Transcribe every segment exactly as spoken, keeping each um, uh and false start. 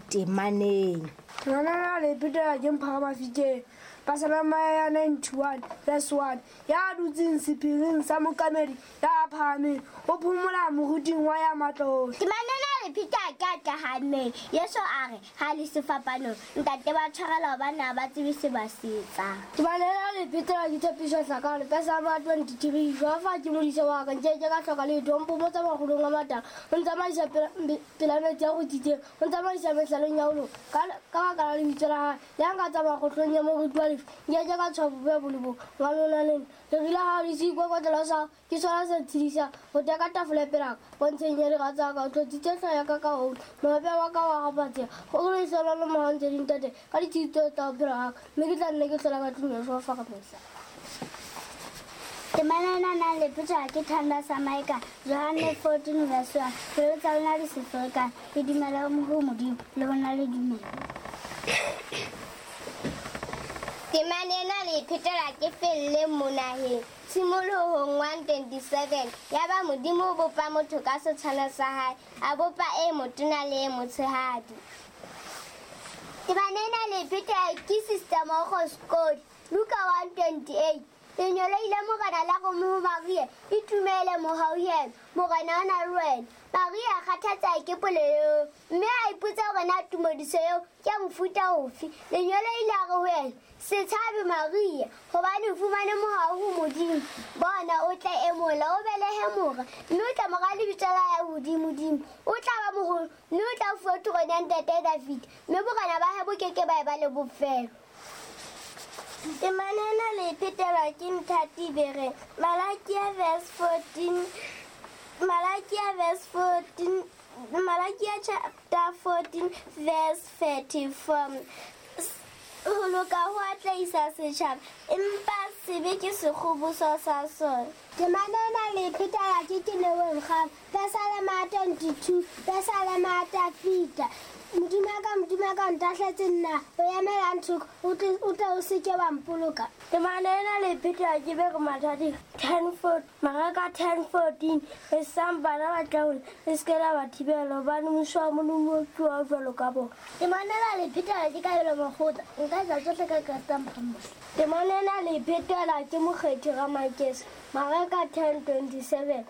temaneng. Temana le pheta ke mphara mafikeng. Pesalema ya ninety-one verse one. Ya dutseng sephiring sa mokamedi ya phahameng o phomola moruting wa ya matla. Temana le pheta ke a tlahameng. Yeso a re ha le sefapanong ntate ba tshwarela hobane ha ba tsebe se ba se etsang. Temana le pheta ke tshepiso hlaka le Pesalema twenty-three. Jehova ke modisa wa ka nke ke ka hloka letho mpomotsa makgolong a matala o ntsamaisa pela metsi a rothitseng o ntsamaisa mehlaleng ya ho loka ka ka baka la lebitso la hae le ha nka tsamaya kgohlong ya moriti wa lefu nke ke ka tshoha bobe bo le bong hobane o na le nna lerila hao le seikokotlelo sa hao ke sona se ntshedisang ho teka tafole pela ka pontsheng ya dira tsa ka o tlotsitse hlooho ya ka ka oli mohape wa ka wa kgaphatseha ho lehlohonolo le mohau ntse di ntatela ka ditshiu tsohle tsa bophelo ba ka mme ke tla nne ke hlola ka tlung ya Jehova ka mehla. Temana ena nang le pheta ke Thanda sa Maika Johanne fourteen verse one. Pelo tsa lona di se ferekane, le dumela ho Modimo le bona le dumela. Temana ena le phetela ke felle monaheng tshimolohong one twenty-seven. Yaba Modimo o bopa motho ka setshwantsho sa hae, a bopa e motona le e motshehadi. Temana ena le phetela ke Sister Mokgo Skodi Luka one twenty-eight. Lenyolo ile Morena la re ho Maria, itumele mohauhelo, Morena o na le wena. Maria a kgathatseha ke polelo eo, mme a ipotsa hore na tumediso eo ke ya mofuta ofe. Lenyolo ile a re ho yena, se tshabe Maria, hobane o fumane mohau ho Modimo. Bona o tla emola, o belehe mora, mme o tla mo reha lebitso la ya hodimodimo. O tla ba moholo, mme o tla fuwa terone ya ntate Davida, mme borena ba hae bo ke ke ba eba le bofelo. Temana ena le phetelwa ke Nthati Bereng Malakia verse fourteen Malakia verse fourteen Malakia chapter fourteen verse thirty-four. Ho loka ho atlehisa setjhaba empa sebe ke sekgoboso sa sona. Temana ena le phetelwa ke Keleweng Kgama Pesalema twenty-two Pesalema Tafita. Modimo wa ka Modimo wa ka o ntahletse nna o emelang thoko o tle o tle o se ke wa mpoloka. Temana ena le phetela ke Bere Mathati ten four Mareka ten fourteen. Esang bana ba tla ho le se ke la ba thibela hobane mmuso wa Modimo ke wa jwalo ka bona. Temana ena le phetela ke Kabelo Mokgotla nka etsa tsohle ka Kreste Mphamosi. Temana ena le phetela ke Mokgethi Ramakese Mareka ten twenty-seven.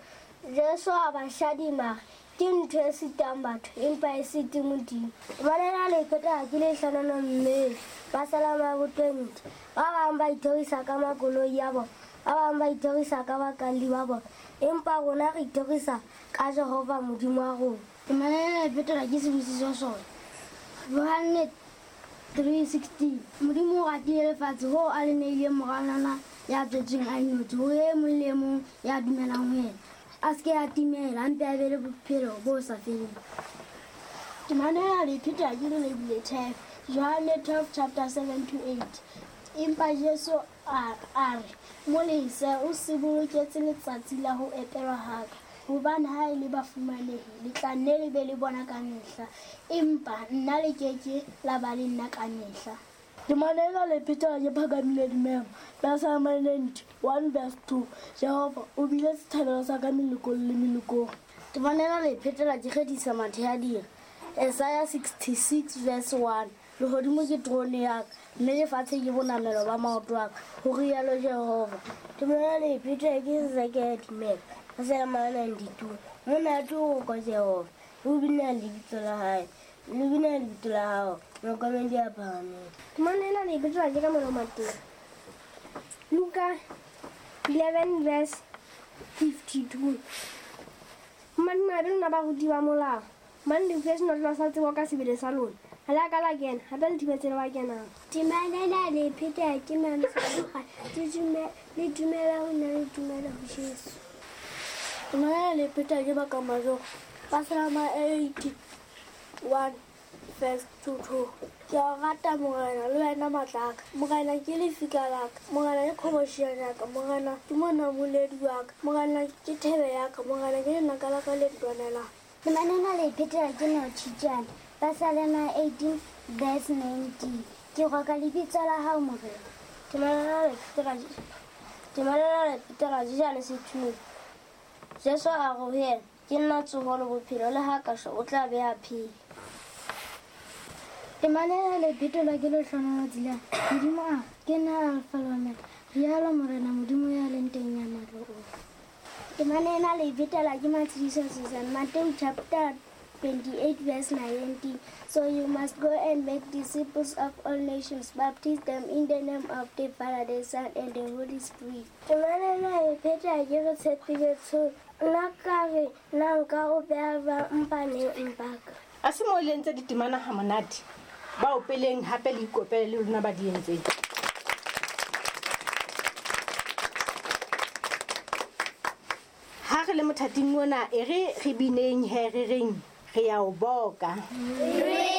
Jesu a ba shadima ke ntho e sitang batho empa e site Modimo. Temana ena le phetela ke Lehlohonolo Mmele Pesalema bo twenty. Ba bang ba ithorisa ka makoloi a bona, ba bang ba ithorisa ka bakalli ba bona, empa rona re ithorisa ka Jehova Modimo wa rona. Temana ena le phetela ke Sibusiso Sona Johanne three sixteen. Modimo o ratile lefatshe hoo a le neileng Morana ya tswetsweng a nnotshi hore e mong le e mong ya dumelang ho yena a se ke a timela, a mpe a be le bophelo bo sa feleng. Temana ena le phetela ke Lebile Thef Johanne twelve chapter seven to eight. Empa Jesu a a re mo lese o se boloketse letsatsi la ho epelwa ha ka, hobane ha e le bafumanehi le tla nne le be le bona ka mehla, empa nna le ke ke la ba le nna ka mehla. Temana ena le phetela ke Phakamile Dimema Pesalema ninety one verse two. Jehova o bile sethabelo sa ka melokong le melokong. Temana ena le phetela ke Kgethisa Mathehadira Isaiah sixty-six verse one. Lehodimo ke terone ya ka, mme lefatshe ke bonamelo ba maoto a ka, ho rialo Jehova. Temana ena le phetela ke Seseke Dimema Pesalema ninety-two. Monate o rokwa Jehova, le ho binela lebitso la hae, le binela lebitso la hao, mohlokomedi ya phahameng. Temana ena le phetela ke Kamelo Mateng Luka eleven verse fifty-two. Madimabe lona baruti ba molao, hobane le utlwetse senotlolo sa tsebo ka sebele sa lona, ha le a ka la kena, hape le thibetse le ba kenang. Temana ena le phetela ke Mamsa Mogale le dumela ho nna le dumela ho Jesu. Temana ena le phetela ke Baka Majoro Pesalema eighty-one verse two two. Ke a o rata Morena le wena matla a ka. Morena ke lefika la ka, Morena ke qhobosheane ya ka, Morena ke monamoledi wa ka, Morena ke thebe ya ka, Morena ke lenaka la ka le ntwanelang. Temana ena le phetela ke Notjhitjana Pesalema eighteen verse nineteen. Ke roka lebitso la hao Morena. Temana ena le phetela Temana ena le phetela Jejane Sethunya. Jesu a re ho yena, ke nna tsoho le bophelo, le ha ka shwa o tla be a phela. Temana le phetolwa ke Lehlohonolo Tselane. Modimo a ke nna Alfa le Omega, rialo Morena Modimo ya leng teng ya matla ohle. Temana ena le phetolwa ke Matshidiso Susan. Matthew chapter twenty-eight verse nineteen. So you must go and make disciples of all nations, baptize them in the name of the Father, the Son, and the Holy Spirit. Temana ena e phetwa ke re tshepile tsho. Nna ka re nna nka o beha jwang mpaneng mpaka. A se mo le entse ditemana ha monate. Ba opeleng hape le ikopele le lona ba di entseng. Ha re le mothating ona e re re bineng he re reng re ya o boka. Re